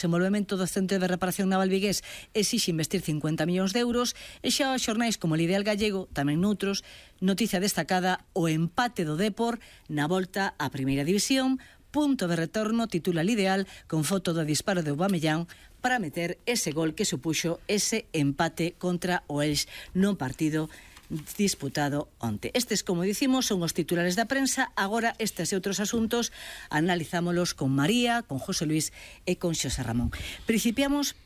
desenvolvemento do Centro de Reparación Naval vigués exixe investir 50 millóns de euros e xa os xornais como el Ideal Gallego, tamén noutros, noticia destacada o empate do Depor na volta á Primeira División, punto de retorno, titula el Ideal, con foto do disparo de Aubameyang para meter ese gol que supuxo ese empate contra o Elx no partido disputado onte. Estes, como dicimos, son os titulares da prensa. Agora, estes e outros asuntos analizámolos con María, con José Luis e con Xosé Ramón. Principiamos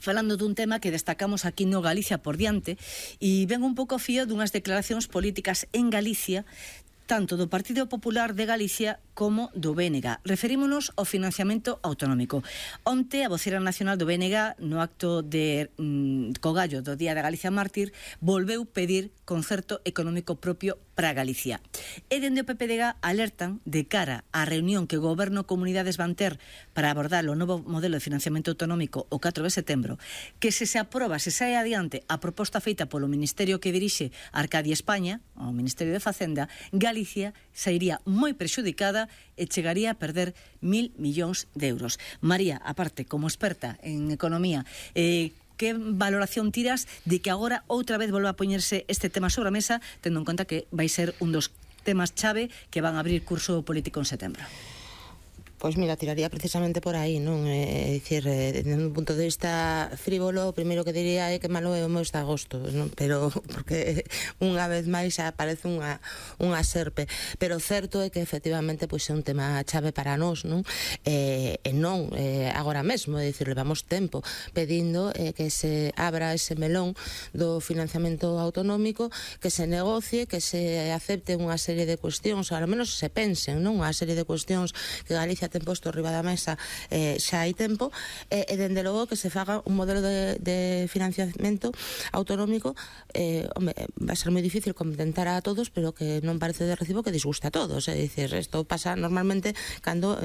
falando dun tema que destacamos aquí no Galicia por diante e ven un pouco fío dunhas declaracións políticas en Galicia, tanto do Partido Popular de Galicia como do BNG. Referímonos ao financiamento autonómico. Onte, a vocera nacional do BNG, no acto de Cogallo do Día da Galicia Mártir, volveu pedir concerto económico propio para Galicia. E dende o PPDG alertan de cara á reunión que o Goberno e Comunidades van ter para abordar o novo modelo de financiamento autonómico o 4 de setembro, que se aproba, se sae adiante a proposta feita polo Ministerio que dirixe Arcadia España, o Ministerio de Facenda, Galicia sairía moi prexudicada e chegaría a perder 1.000 millóns de euros. María, aparte, como experta en economía, que valoración tiras de que agora outra vez volva a poñerse este tema sobre a mesa, tendo en conta que vai ser un dos temas chave que van a abrir curso político en setembro? Pois mira, tiraría precisamente por aí, non? É dicir, desde un punto de vista frívolo, o primeiro que diría é que malo é o mes de agosto, non? Pero, porque unha vez máis aparece unha serpe. Pero certo é que efectivamente pois é un tema chave para nós, non? E non agora mesmo, é dicir, levamos tempo pedindo que se abra ese melón do financiamento autonómico, que se negocie, que se acepte unha serie de cuestións, ou ao menos se pensen, non? Unha serie de cuestións que Galicia ten posto riba da mesa xa hai tempo, e dende logo que se faga un modelo de financiamento autonómico, vai ser moi difícil contentar a todos, pero que non parece de recibo que disgusta a todos. É dicir, isto pasa normalmente cando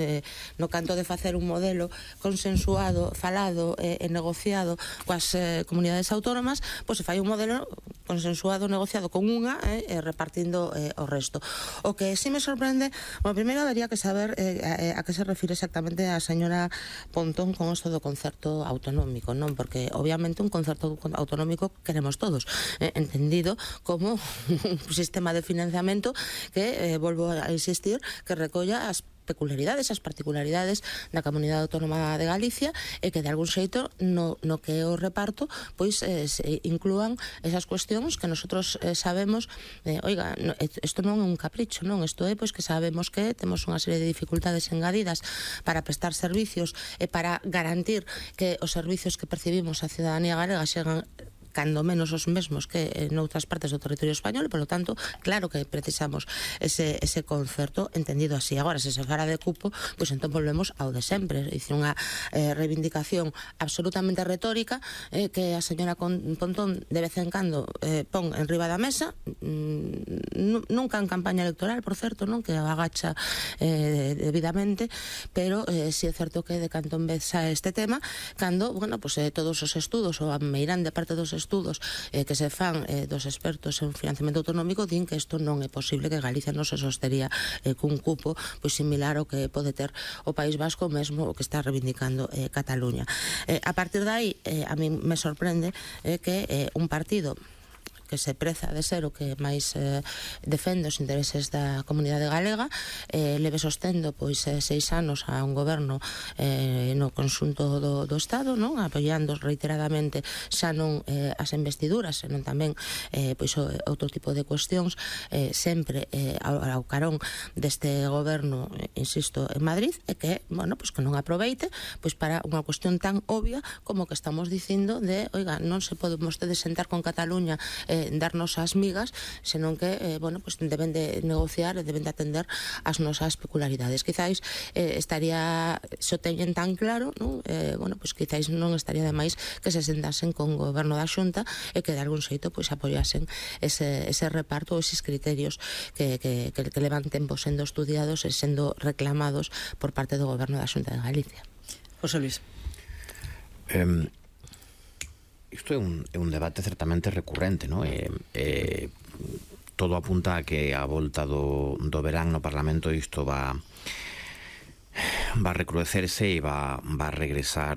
no canto de facer un modelo consensuado, falado e negociado coas comunidades autónomas, pois se fai un modelo consensuado, negociado con unha e repartindo o resto. O que sí me sorprende, bueno, primeiro habería que saber a que se refire exactamente a señora Pontón con isto do concerto autonómico, non? Porque obviamente un concerto autonómico queremos todos, entendido como un sistema de financiamento que, volvo a insistir, que recolla as peculiaridades, as particularidades da Comunidade Autónoma de Galicia e que de algún xeito no que é o reparto pois se inclúan esas cuestións que nosotros sabemos, oiga, isto non é un capricho, non, isto é pois que sabemos que temos unha serie de dificultades engadidas para prestar servicios e para garantir que os servicios que percibimos a cidadanía galega xegan cando menos os mesmos que noutras partes do territorio español, e, polo tanto, claro que precisamos ese concerto entendido así. Agora, se se fara de cupo, pois entón volvemos ao de sempre, é dicir, unha reivindicación absolutamente retórica que a señora Pontón de vez en cando pon en riba da mesa, nunca en campaña electoral, por certo, non, que agacha debidamente, pero si é certo que de canto en vez xa este tema, cando, bueno, pues todos os estudos, ou a meirande parte dos estudos que se fan dos expertos en financiamento autonómico din que isto non é posible, que Galicia non se sostería cun cupo pois similar ao que pode ter o País Vasco, mesmo o que está reivindicando Cataluña. A partir de aí, a mí me sorprende que un partido que se preza de ser o que máis defende os intereses da comunidade galega, leve sostendo pois 6 anos a un goberno no conxunto do Estado, non, apoiando reiteradamente xa non as investiduras, senón tamén pois outro tipo de cuestións, sempre ao carón deste goberno, insisto, en Madrid, e que, bueno, pois que non aproveite pois para unha cuestión tan obvia como que estamos dicindo de, oiga, non se pode vostedes sentar con Cataluña darnos as migas, senón que, bueno, pues deben de negociar e deben de atender as nosas peculiaridades. Quizáis estaría, se o teñen tan claro, non? Bueno, pues quizáis non estaría de máis que se sentasen con o goberno da Xunta e que de algún xeito pues apoyasen ese reparto, eses criterios que levan tempo sendo estudiados e sendo reclamados por parte do goberno da Xunta de Galicia. José Luis. Isto é un debate certamente recurrente, non? Todo apunta a que a volta do verán no Parlamento isto va a recrudecerse e va a regresar